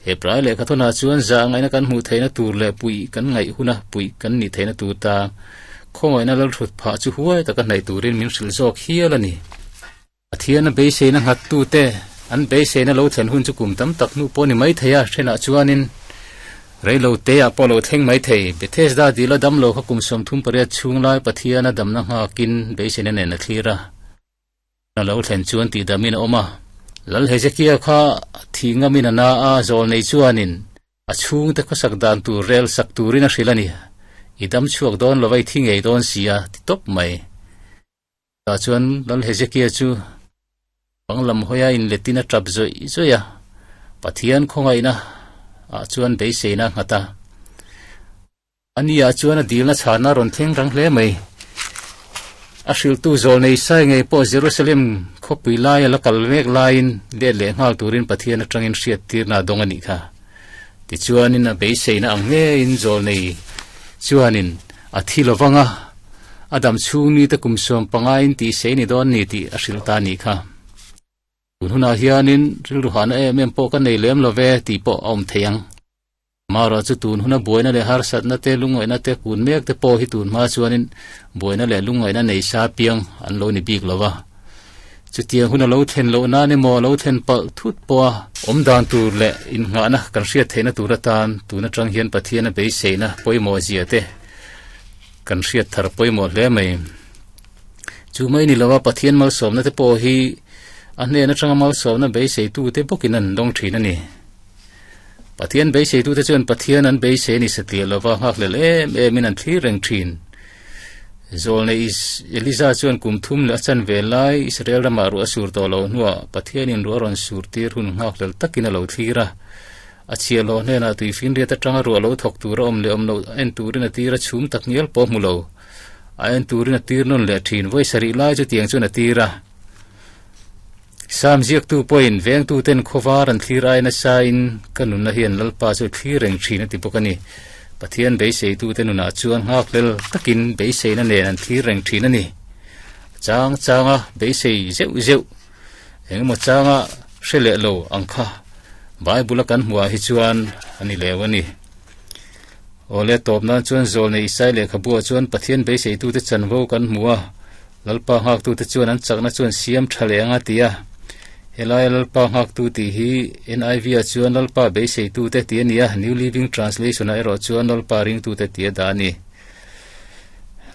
Hebrai lehkhathawnah chuan zah ngaihna kan hmuh theihna tur leh puih kan ngaih huna puih kan nih theihna tur tan khawngaihna lalthut phah chu huai taka hnaih turin min hrilh zawk hial a ni. Pathiana beiseina nghattute an beiseina lo thlen hun chu kum tam tak hnu pawh ni mai thei a, thenah chuanin reilo teah pawh lo thleng mai thei. Bethesda dila damlo kha kum 38 chhung lai Pathiana damna nghakin beiseina nen a thlir a. A lo thlen chuan tihdamin a awm a. Lal Hezekia kha thih ngamin a na a, zawl nei chuanin a chhungte khawsak dan tur rel sak turin a hrilh a ni. I dam chhuak dawn lo va, i thi ngei dawn si a, ti tawp mai. Tah chuan Lal Hezekia chu bang lam hawia inletin a tap zawih zawih a, Pathian khawngaihna ah chuan beiseina a nghat a. A ni ah chuan a dilna chhana rawn thleng rang hle mai. A hrilhtu zawl nei sai ngei pawh Jerusalem khawpui lai a la kal mek laiin let leh nghal turin Pathian atangin hriattirna a dawng a nih kha. Tichuanin a beiseina ang ngeiin zawl nei chuanin a thi lo vang a, a dam chhung nite kum 15 in tihsei ni dawn ni tih a hrilh ta a nih kha. Tun hunah hianin rilru hahna em em pawh ka nei lem lo ve tih pawh a awm thei ang. Amaherawh chu tun huna buaina leh harsatna te, lungngaihna te, kun mek te pawh hi tun hma chuanin buaina leh lungngaihna nei sa piang an lo ni bik lo va. Chutiang hun a lo thlen loh nan emaw a lo thlen palh thut pawha awm dan tur leh innghahna kan hriat theihna tur atan tun atang hian Pathiana beiseina pawimawh zia te kan hriat thar pawimawh hle mai. Chu mai ni lova Pathian malsawmna te pawh hi a hnen atanga malsawmna beiseitute bawkin an dawng thin a ni. Pathian beiseitute chuan Pathian an beisei a ni satliah lova nghakhlel em emin an thlir reng thin. Zawlnei Eliza chuan kum thum leh a chan ve lai Israel ramah ruah a sur tawh loh hnuah Pathianin ruah a rawn sur tir hun nghakhlel takin a lo thlir a. A chhiahhlawh hnenah tuifinriat atanga ruah lo thawk tur a awm leh awm loh en turin a tir a chhum tak ngial pawh hmu lo. A en turin a tir nawn leh thin. Vawi sarih lai chu tiang chuan a tir a. Sam ziaktu pawhin vengtuten khawvar an thlir ai nasa in ka nunna hian Lalpa chu thlir reng thin a ti bawk a ni. Pathian beiseitute nunah chuan nghakhlel takin beiseina nen an thlir reng thin a ni. A chang changa beisei zeuh zeuh engemaw changa hre leh lo ang kha Bible a kan hmuh ah hi chuan a ni leu a ni. Awle tawp nan chuan Zawlnei Isai lehkhabuah chuan Pathian beiseitute chanvo kan hmu a, Lalpa nghaktute chuan an chakna chuan siam tha leh ang a ti a. Helaia Lalpa nghaktu tih hi NIV-ah chuan Lalpa beiseitute tih a ni a, New Living Translation-ah erawh chuan Lalpa ringtute tih a dah a ni.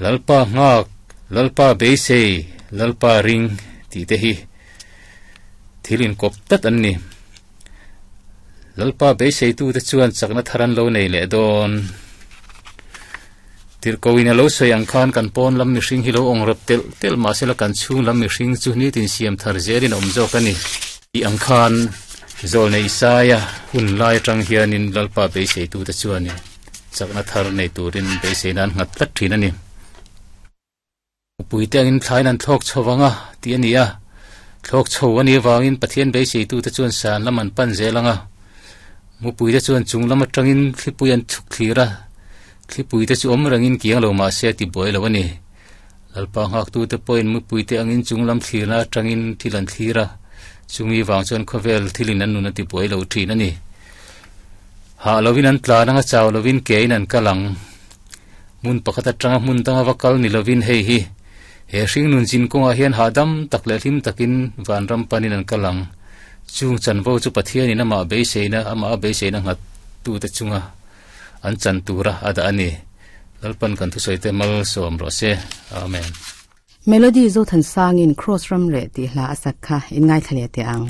Lalpa nghak, Lalpa beisei, Lalpa ring tih te hi thil inkawp tlat an ni. Lalpa beiseitute chuan chakna thar an lo nei leh dawn. Tirhkohin a lo sawi ang khan kan pawn lam mihring hi lo awng rep telh telh mahsela kan chhung lam mihring chu nitin siam thar zelin a awm zawk a ni. Tih ang khan Zawlnei Isaia hun lai atang hianin Lalpa beiseitute chuanin chakna thar nei turin beiseina an nghat tlat thin a ni. Mupui te angin thlain an thlawk chho vang a, tih a ni a. Thlawk chho a nih avangin Pathian beiseitute chuan san lam an pan zel ang a. Mupui te chuan chung lam atangin thlipui an chhuk thlir a, thlipui te chu awm rengin kiang lo mah se a ti buai lo a ni. Lalpa nghaktute pawhin mupui te angin chung lam thlirna atangin thil an thlir a, chumi vang chuan khawvel thilin an nun a ti buai lo thin a ni. Hah lovin an tlan ang a, chau lovin kein an kal ang. Hmun pakhat atanga hmun danga va kal ni lovin hei hi he hringnun zin kawngah hian hahdam tak leh hlim takin vanram panin an kal ang. Chung chanvo chu Pathianin amah beiseina amah a beiseina nghat tute chunga an chan tura a dah a ni. Lalpan kan thusawite malsawm rawh se. Amen. Melody Zothansangin Cross Ramreh tih hla a sak kha in ngaithla leh teh ang.